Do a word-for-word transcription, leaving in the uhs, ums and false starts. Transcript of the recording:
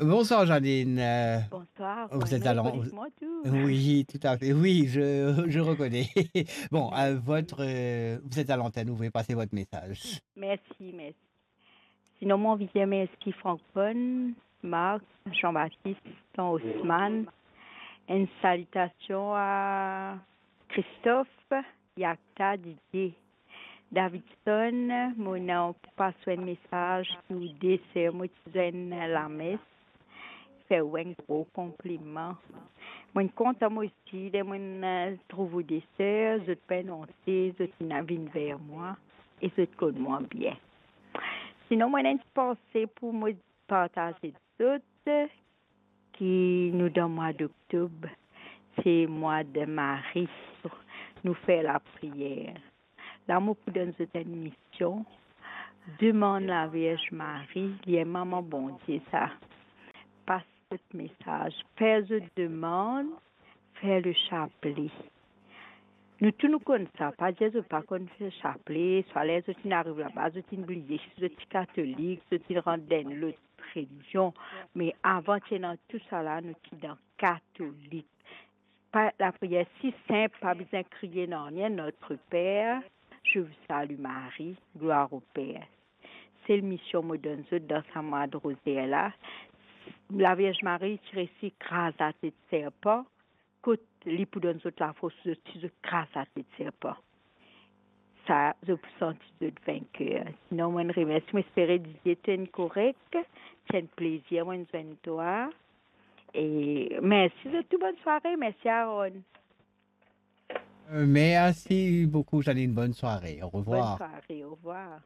Bonsoir Janine. Euh, Bonsoir. vous êtes Bonne à l'an- année, Paulus Montou. Oui, tout à fait. Oui, je, je reconnais. Bon, euh, votre, euh, vous êtes à l'antenne, vous pouvez passer votre message. Mersi, mersi. Sinon, mo anvi dir mersi Franck Paul, Marc, Jean-Baptiste, Tan Osman. Enn salitasion a Christophe, Yakta, Didier. Davidson, mo ena pou pas enn mesaz pou de ser mo ti zwenn lames, fer ou enn gro konpliman. Mo kontan mo osi, ler mo trouv ou de ser, zot pa anonse, zot inn vinn ver mwa, e zot konn mwa bien. Sinon, mo ena enn ti panse pou mo partaz zot, ki nou dan mwa doktob, se mwa de Mari, nou fer lapriyer. La, mo pou donn zot enn mision, demann Lavierz Mari, li enn mama Bondie sa, pas zot mesaz, fer zot demann, fer le chaplet. Nou tou nou konn sa, pa dir zot pa konn fer chaplet, swa ler zot inn ariv laba, zot inn bliye si zot ti katolik, zot inn rant dan enn lot relizion. Me avan ti ena tou sa la, nou ti dan katolik. Pa, lapriyer si sinp, pa bizin kriye nanye, Notre Père, je vous salue Marie, gloire au Père. Sel mision mo donn zot dan sa mwa de rozer la, Lavierz Mari ti resi kraz latet serpan, kot li pou donn zot lafors, zot ti zot kraz latet serpan. Sa, zot pou santi zot vinker. Sinon, mo remersi, mo espere Didier to inn korek, ti enn plezir mo zwenn twa. E mersi zot tou, bonn sware, mersi Aaron. Euh, merci beaucoup Janine, bonne soirée, au Bonn revoir. Sware, orevwar.